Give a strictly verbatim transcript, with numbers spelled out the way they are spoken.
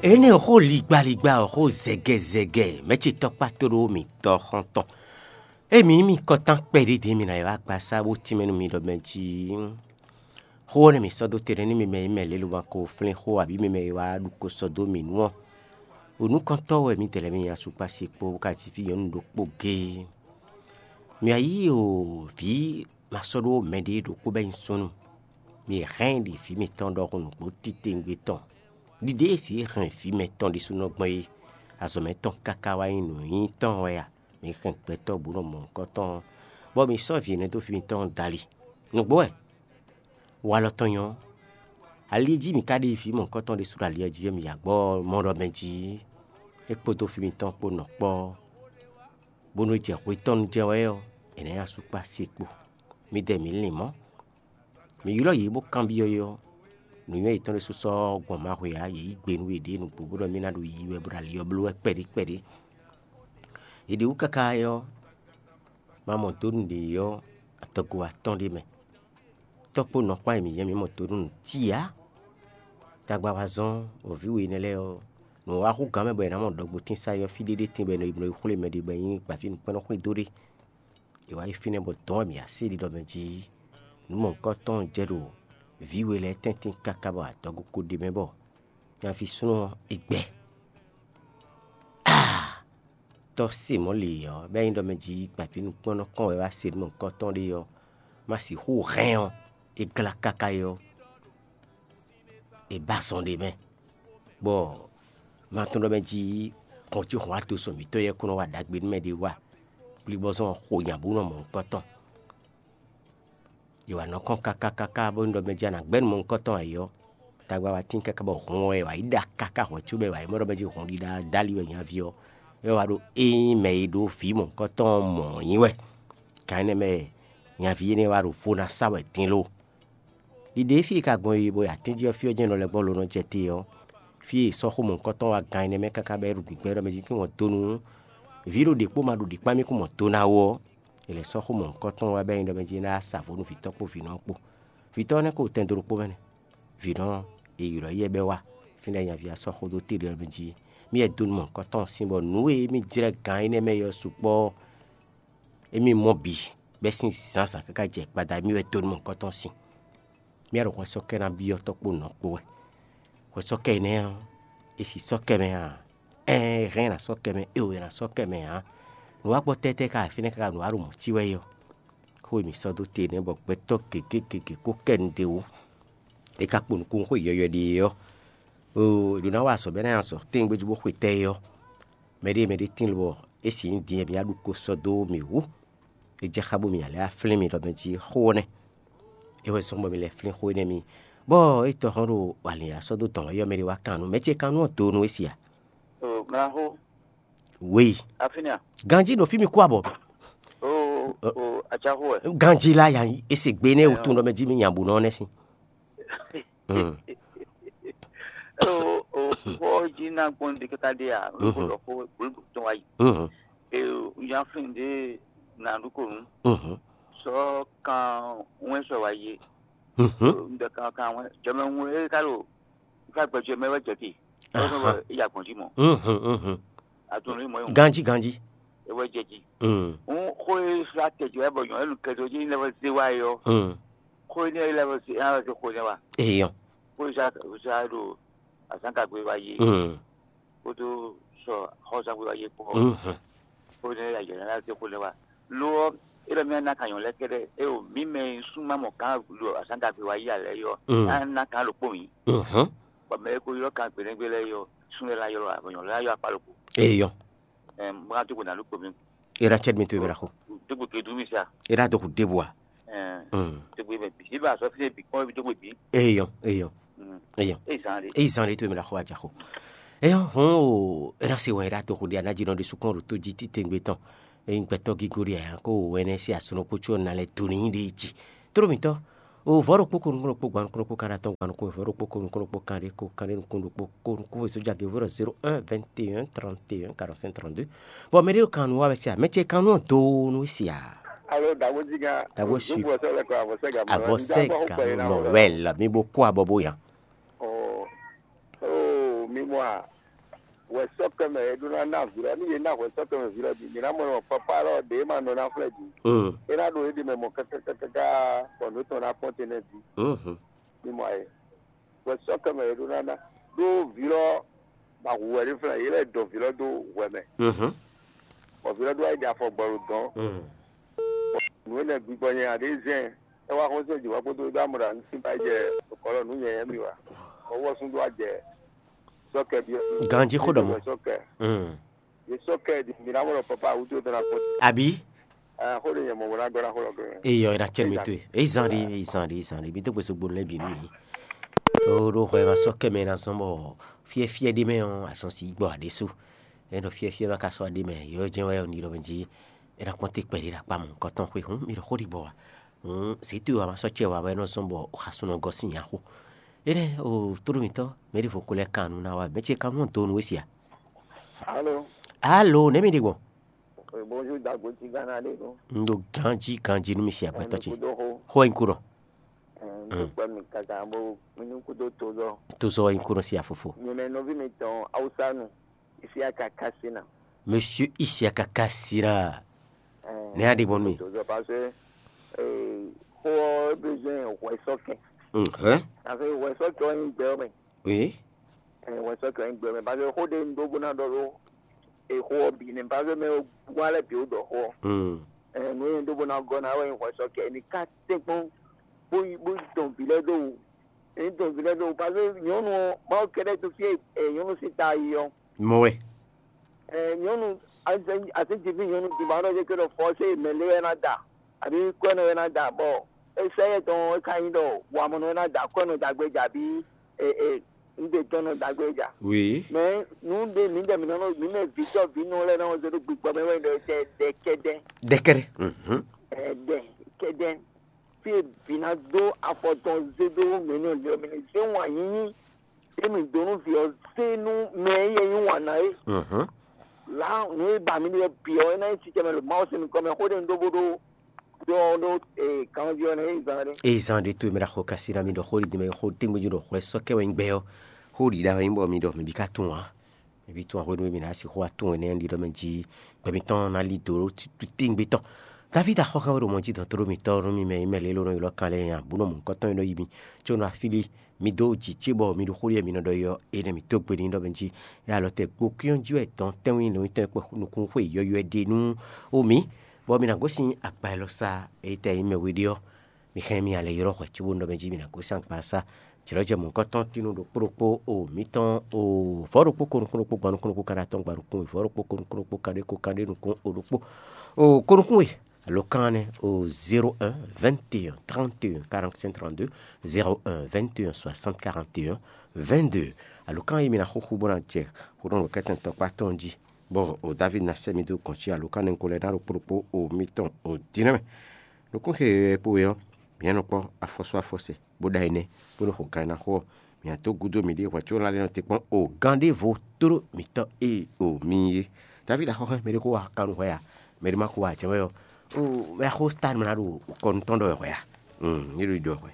Énɛ́ xó ligbaligba ɔ́ xó zɛgɛzɛgɛ mɛ̌ ce tɔ́kpá tóɖó mǐtɔn xɔ́ntɔn. Ée mǐ nyí mì kɔtán kpɛɖé din mǐ ná yi wá gbasá bó tínmɛ nú mi ɖɔ mɛ jí xó ɔ́ nɛ́ mǐ sɔ́ dó te nɛ́ nú mi mɛ e nyí mɛ lě lobo ko flín xó abǐ mi mɛ e wá ɖu ko sɔ́ dó mǐ nu ɔ́. O nǔkɔntɔ́ wɛ mǐdɛɛ lɛ́ɛ mì nyi asukpási kpó bó ka ji fí nyɔ̌nu ɖokpó géé. Mǐ wá yí o vǐ ma sɔ́ ɖó mɛɖé ɖokpó bɔ é nyí súnnu. Mǐ hɛn ɖi vǐ mǐtɔn ɖɔhun nǔgbó titewungbe tɔn. Ɖiɖe e sǐ hɛn vǐ mɛtɔn ɖésúnɔ gbɔn é, azɔ̌ mɛtɔn káká wá nyí nǔnyinyitɔ́ wɛ a? Mǐ hɛn gbɛtɔ́ bǔ nɔ mɔ nukɔn tɔn ɔ́, bɔ mǐ sɔ́ vǐ énɛ́ dó fí mǐtɔn dali. Nǔgbó wɛ, walɔ tɔn nyɔ́. Ali e jí mǐ ka ɖe vǐ mɔ̌hunkɔtɔn ɖésú ɖo ali ɔ́ jí ɔ́, mǐ yi agbɔ́ mɔ ɖɔ mɛ jí é kpódó fí mǐtɔn kpó nɔ kpɔ́, bónú é jɛ hwetɔ́nu jɛ́n wɛ ɔ́, è nǎ nyi asú kpó asi kpo. Midɛɛ mǐ lin mɔ̌. Mǐ ylɔ́ yě bó kanbyɔ́ yě ɔ́, nǔnywɛ́ yětɔn ɖésú sɔ́ gbɔn mahwe ǎ; yě yí gbe nú yěɖée nǔgbó bó ɖɔ mì ná ɖo yiyi wɛ bó ɖo ali ɔ́ bló wɛ kpɛɖé kpɛɖé. Yě ɖě wú káká ɔ́, ma mɔ dó nǔɖé ɔ́, adɔgo atɔ́ɔ́n ɖé mɛ. Tɔ́ kpó nɔ kpán e mǐ nyɛ mǐ mɔ dó nú nǔ cí ǎ. Tagba wá zɔ́n wɔ̌ví we énɛ́ lɛ́ɛ ɔ́, nǔ wá hú gǎn mɛ bɔ è nǎ mɔ ɖɔgbotín sa ɔ́ fí ɖé ɖé tín bɔ è nɔ yi bló yi xwlé mɛɖé bɔ é nyí gbǎví nǔkpɛ́nnɔ xwedó ɖé. È wǎ yi fínɛ́ bɔ dɔ̌n wɛ mǐ wá se ɖiɖɔ mɛ jí. Nǔ mɔ̌hunkɔtɔn jɛ ɖo vǐ we lɛ́ɛ tɛ́ntin káká bɔ adɔgo ko ɖ'é mɛ bɔ nyaví súnnu ɔ́, é gbɛ. Aa! Tɔ́ se mɔ̌ lě ɔ́, bɔ é nyí ɖɔ mɛ jí gbǎví nǔkpɔ́nnɔ kɔn wɛ wá se nǔ mɔ̌hunkɔtɔn ɖé ɔ́, má sixú hɛn ɔ́, é glá káká é ɔ́, è ba zɔn ɖ'é mɛ, bɔ ma tunwun ɖɔ mɛ jí hɔn cí hɔn wá dó sɔn mǐtɔn yɛ́ kún nɔ wa ɖagbe nú mɛ ɖé wú a? Kplíbɔ́zɔn ɔ́ xo nya bó nɔ mɔ̌hunkɔtɔn. È wǎ nɔ kɔn káká káká bónú ɖɔ mɛ jí a nǎ gbɛ́ nú mɔ̌hunkɔtɔn ǎ é ɔ́, tagba wá tín káká bɔ hɔn ɔ́ è wǎ yi ɖa káká hwɛ̌ cóbɔ è wǎ yi mɔ ɖɔ mɛ jí hɔn ɖiɖa dó ali wɛ nyaví ɔ́, é wá ɖo ényí mɛ e ɖó vǐ mɔ̌hunkɔtɔn mɔ̌ nyí wɛ. Kan énɛ́ mɛ wɛ nyaví énɛ́ wá ɖo vo ná sa wɛ din lo. Ɖiɖe e fí e ka gbɔn yi bɔ atínjí ɔ́ fí ɔ́ jɛ́n nɔ lɛ́ gbɔ lo nɔ jɛ te ɔ́, fí e è sɔ́ xó mɔ̌hunkɔtɔn wá gán énɛ́ mɛ káká bɔ é ɖo gbǐgbɛ́ ɖɔ mɛ jí kún wɔn dó nú vǐ ɖo ɖě kpó ma ɖo ɖě kpán mì kún mɔ do ná ó ɔ́, è lɛ̌ sɔ́ xó mɔ̌hunkɔtɔn wá bɔ é nyí ɖɔ mɛ jí é ná ya sa vo nú vǐtɔ́ kpó vǐnɔ kpó. Vǐtɔ́ ɔ́ nɛ́ ko tɛn dó ɖokpó mɛ nɛ́. Vǐnɔ e ylɔ́ yɛ bɛ́ wá, fínɛ́ nyaví ɔ́ sɔ́ xó dó te ɖɔ mɛ jí mì wɛ dó nú mɔ̌hunkɔtɔn sín bɔ nǔ e émí jlɛ́ gǎn énɛ́ mɛ é ɔ́ sukpɔ́ émí mɔ bǐ, bɛ́ sín zǎnzǎn káká jɛ gbada émí wɛ dó nú mɔ̌hunkɔtɔn sín. Mì wɛ ɖo hwɛsɔ́kɛ́ ná byɔ́ tɔ́ kpó nɔ kpó wɛ. Hwɛsɔ́kɛ́ énɛ́ ɔ́, è si sɔ́ kɛ mɛ a? Ɛɛn, è hɛn ná sɔ́ kɛ mɛ, é wǒ è nǎ sɔ́ kɛ mɛ ǎ. Nǔ wá gbɔ tɛ́tɛ́ ká fínɛ́ káká nǔ wá ɖo mɔ̌ cí wɛ é ɔ́, xó e mǐ sɔ́ dó te nɛ́ bɔ gbɛtɔ́ gěgé gěgé kó kɛ nu d'é wú. É ka kpo nukúnnú xó yɔ̌yɔ́ ɖé ɔ́, oo, è ɖǒ ná wa azɔ̌ bɔ é ná nyi azɔ̌ tɛ́ngbéjú bó xwe tɛ́ é ɔ́, mɛɖée mɛɖée tín lobɔ é si nyí din e mǐ wá ɖu ko sɔ́ dó mì wú. É jɛ xá bónú mǐ ná lɛ́ wá flín mi ɖɔ mɛ jí xó ɔ́ nɛ́. É wɛ zɔ́n bɔ mi lɛ́ flín xó énɛ́ mi. Bɔ é tɔ́ hɔn ɖo alǐn ya sɔ́ dó dɔ̌n wɛ ɔ́, mɛ ɖé wá kan nú mɛ ce kan nú ɔ́ do nú é si a? Mlaxó, Wěyi. Afínɛ́ a? Ganjí ɖo fí mi kú abɔ. O, o, acaxó wɛ. Ganjí la ya é se gbe nɛ wútu ɖɔ mɛ jí mi nya bǔ nɔ nɛ sín. Mm. O, o, xó jí ná gbɔn ɖe káká ɖe a? Mhm. Lóko lɔ xó gbólógbó tɔn wá yi. Mhm. E, ya fin ɖe na ɖu ko nu. Mhm. Sɔ kan wɛn sɔ wá yi. Mhm. Ndɛ kan kan wɛn jɔmɛ ŋu e ka lo. Fa gbɛjɔ mɛ wɛ jɛ te. Aha. Ɔsɔ wɛ ya gbɔn jí mɔ. Mhm, mhm. Atun ni mɔ yɔn. Ganji, ganji. E wɛ jɛ ji. Mm. Un xo e sa tɛ jɔ e bɔ yɔn e nu kɛ do ji ne wɛ ze wa yɔ. Mm. Xo ne e lɛ wɛ ze, e wɛ ze xo ne wa. Eyɔn. Xo sa sa do azan ka gbe wa ye. Mm. Kódó sɔ xɔzangbe wa ye kpɔ. Mhm. Xo ne ya yɛ na ze xo ne wa. Lo ɔ, e lɛ mi na ka yɔn lɛ kɛdɛ e o mi mɛ sun ma mɔ kan lo azan ka gbe wa yi alɛ yɔ. Mm. Na na kan lo kpɔ mi. Mhm. Bɔ mɛ e ko ylɔ kan gbenegbe lɛ yɔ, sun lɛ la ylɔ abɔ yɔn lɛ la yɔ akpa lo kpo. Eyɔn. Ɛm, bɔ ka to ko na lo kpo mi. Era cɛd mi to mi la xo. Dogbo ke du mi sa. Era do ko debu a. Ɛn. Mm. Dogbo mɛ bi. Iba sɔ fi bi kɔn bi dogbo bi. Eyɔn, eyɔn. Mm. Eyɔn. E zan de. E zan de to mi la xo a ja xo. Eyɔn, hɔn o, era se wɛn era to ko de a na ji nɔ de sukɔn ro to ji ti tengbe tɔn. Eyin gbɛtɔ gigo de a ko wɛnɛ se asunɔ ko tso na lɛ to ni de ji. Tro mi tɔ. O vɔ̌ ɖokpó ko nukún ɖokpó gban nukún ɖokpó kan ɖe atɔn gban nukún vɔ̌ ɖokpó ko nukún ɖokpó kan ɖe ko kan ɖe nukún ɖokpó ko nukún vɔ̌ sójà ge vɔ̌ ɖɔ zéro un vingt et un trente et un quarante-cinq trente-deux. Bɔ mɛ ɖé kan nu wa wɛ se a? Mɛ ce kan nu ɔ́ do nu wɛ se a? Alo dagbo jí kan. Dagbo su. Dugbo sɛ lɛ kɔ avɔsɛ ga mɔ. Avɔsɛ ga mɔ wɛ la mi bo kó abɔ bo yan. Oh. Oh, mi Mɔ a, hwɛsɔ́kɛ mɛ e ɖó ná ná vǐ lɔ, ní yě ná hwɛsɔ́kɛ mɛ vǐ lɔ din, mǐ ná mɔ nɔ papa lɔ ɖě ma nɔ ná flɛ́ din. É ná ɖo éɖée mɛ mɔ kákákáká, bɔ nǔ tɔn ná kpɔ́n te nɛ́ din. Ní mɔ ayɛ, hwɛsɔ́kɛ mɛ e ɖó ná ná ɖó vǐ lɔ, ma hu wɛ ní flɛ́, yě lɛ́ dɔn vǐ lɔ dó hwɛ mɛ, bɔ vǐ lɔ ɖó wá yi ɖe afɔ gbɔ ɖo dɔn. Nǔ énɛ́ gbigbɔ nyanya ɖě zɛn, é wá xɔ́n sɛn jǐ wá kpódó dó amɔ̌ ɖo anyǔsín ba yi jɛ kɔlɔ nǔ nyanya mì wá. Ɔwɔ́sún ɖó wá jɛ sɔ́kɛ byɔ́. Ganjí xó ɖɔ mɔ. Sɔ́kɛ. Yě sɔ́kɛ ɖi mǐ ná mɔ ɖɔ papa wútu é dɔn ná kpɔ́n. Àbí? Xó ɖé nyɛ mɔ bó ná gɔ́ ná xó lɔ gɔ́. Eyɔ, é ná cɛ mì towe. Èyí zan ɖi, èyí zan ɖi, èyí zan ɖi. Bí dó gbèsè gbónú lɛ́ɛ bǐ nú mì. Ó ɖó hwɛ ma sɔ́ kɛ mɛ ná zɔ́n bɔ fyɛ́fyɛ́ ɖé mɛ ɔ́, azɔn sí gbɔ aɖésú. É ɖo fyɛ́fyɛ́ ma ka sɔ́ ɖé mɛ, yǒ jɛ́n wɛ ɔ́ ní ɖɔ mɛ jí. É ná kpɔ́n té kpɛɖé ɖo akpá mɔ̌hunkɔtɔn xwé hǔn, mi ɖo xó ɖi gbɔ wa. Hǔn zǐtú wa ma sɔ́ cɛ wa wɛ é nɔ zɔ́n bɔ xasun nɔ gɔ́ sín nya xo. Énɛ́ o tóɖó mǐtɔn, mɛ ɖěvo ko lɛ́ kan nǔ ná wa, mɛ ce kan nú do nú we sia. Alo. Alo, nɛ̌ mi ɖe gbɔn? Bonjour, Dagbo ti Ghana ɖe ɖo. Un ɖo ganjí ganjí nú mi sia gbɛtɔ́ ce. Kudo xo. Xó wɛ nyí kúɖɔ. Ɖo kpɛ mi kaka bo mi ní kudo tozɔ. Tozɔ wɛ nyí kúɖɔ sia fofo. Nyɛmɛ nɔví mi tɔn Awusa nu. Isia kaka sina. Monsieur Isia kaka sina. Nɛ̌ a ɖe gbɔn nú mi? Tozɔ parce que xó ɔ́ besoin hwɛsɔ́kɛ. Hɛn. Parce que hwɛsɔ́kɛ ɔ́ nyí gbɛ ɔ́ mɛ. Oui. Ɛ wɛ sɔ kɛ ŋgbɛ mɛ, parce que xó ɖé un ɖó bó ná ɖɔ ɖó exó ɔ́ bǐ nɛ́, parce que mɛ e wá lɛ́ɛ bǐ wó ɖɔ xó ɔ́. Ɛ nǔ e un ɖó bó ná gɔ́ ná wɛ nyí hwɛ sɔ kɛ, mi ka tɛ́nkpɔ́n bó yi bó dɔn vǐ lɛ́ɛ ɖó wǔ. È nǐ dɔn vǐ lɛ́ɛ ɖó wǔ, parce que nyɔ̌nu ɔ́, Mawu kɛ́ɖɛ́ tunwun fí e nyɔ̌nu sín ta yi ɔ́. Mɔ wɛ. Ɛ nyɔ̌nu, asɛnjiví nyɔ̌nu din ba nɔ jɛ kɛ ɖɔ fɔ se mɛ lé wɛ ná da, àbí kɔ́ nɔ wɛ ná da, bɔ é sɛ yɛ tɔn é ka nyí ɖɔ wamɔnɔ wɛ ná da kɔ́ nɔ dagbe ja, àbí e e un ɖe tɔn nɔ dagbe ja. Oui. Mɛ nu ɖe mi ɖe mi nɔ mi mɛ vǐtɔ vǐ nɔ lɛ nɔ zé ɖo gbigbɔ mɛ wɛ ɖɔ tɛ ɖɛ kɛdɛ. Ɖɛkɛɖɛ. Mhm. Ɛ ɖɛ kɛdɛ. Fi e vǐ ná dó afɔ tɔn zé dó mɛ nɔ lɛ mɛ zé wǎn nyínyí. Emi donu vǐ ɔ́ zé nú mɛ e yɛ nyí wǎn ná é. Mhm. Lá nǔ e ba mi ɖe bǐ ɔ́, é ná nyí sicɛ mɛ ɖo Mawu sín nukɔn mɛ, xó ɖé un ɖó bó ɖó ɖó ɔ́ ɖó kanví ɔ́ nɛ́ é zán ɖé. Ée zán ɖé tó e mɛ ɖo axɔ kasí ná mi ɖɔ xó ɖi mɛ xó tɛ́ngbɛ́ jí ɖɔ hwɛ sɔ́ kɛ wɛ nyí gbɛ ɔ́, xó ɖi ɖa wɛ nyí bɔ mi ɖɔ mɛ bǐ ka tunwun ǎ. Mɛ bǐ tunwun ǎ hwenu e mǐ ná sixú wá tunwun énɛ́ ɖi ɖɔ mɛ jí gbɛ mitɔn ná lí dǒ tɛ́ngbɛ́ tɔn. Davídi axɔ́ hɛn wɛ ɖo mɔjítɔ́ tlóló mǐtɔn nú mi mɛ e nyí mɛ lě e ló nɔ ylɔ́ kan lɛ́ɛ nya bǔ nɔ mɔ̌hunkɔtɔn e nɔ yi mi, có nɔ afílí mi dó jǐ ce bɔ mi ɖo xó ɖiɖe mi nɔ ɖɔ é ɔ́, énɛ́ mǐ dó gbe n'i ɖɔ mɛ jí é alɔ tɛ gbokyɔ́n jí wɛ dɔn tɛ́nwún nukún xwe yɔ̌yɔ́ ɖe nú ó mǐ, bɔ mi ná gosín agba élɔ́ sá. Ényí tɛ nyí mɛ we ɖé ɔ́, mi hɛn mi alɛ ylɔ́ hwɛ cóbó nɔ mɛ jí mi ná gosín agba sá. Jlɔ̌jɛ mɔ̌hunkɔtɔn tínú ɖokpó ɖokpó o mǐtɔn o vɔ̌ ɖokpó ko nukún ɖokpó gban nukún ɖokpó kaɖa tɔn gban nukún we vɔ̌ ɖokpó ko nukún ɖokpó kaɖé ko kaɖé nukún o ɖokpó o ko nukún we. Alo kan nɛ́ o zéro un vingt et un trente et un quarante-cinq trente-deux, zéro un vingt et un soixante quarante et un vingt-deux. Alo kan yi mi ná xúxú bó ná jɛ xó ɖɔnú kɛ́tɛn tɔkpá tɔn jí, bɔ o David ná sɛ́ mi dó gɔ̌n cí alo kan nɛ́ ko lɛ́ ná ɖo kplokpó o mitɔn o dínɛ́ mɛ. Nukún xe e kpo we ɔ́, mǐ nɔ kpɔ́ afɔsú afɔsɛ, bó ɖa énɛ́, bó nɔ xo kan e ná xo ɔ́, mǐ ná dó gúdo mǐɖée hwɛ̌ có ná lɛ́ nɔ te kpɔ́n o gán ɖěvo tlóló mǐtɔn e o mi nyí é. David axɔ́ hɛn mɛ ɖé xó wa kan nú hwɛ a? Mɛ ɖé má xó wa jɛ́n wɛ ɔ́, o wɛ xó stad mɛ ná ɖo kɔnu tɔn ɖɔ wɛ hwɛ a? Ní ɖo ɖɔ hwɛ.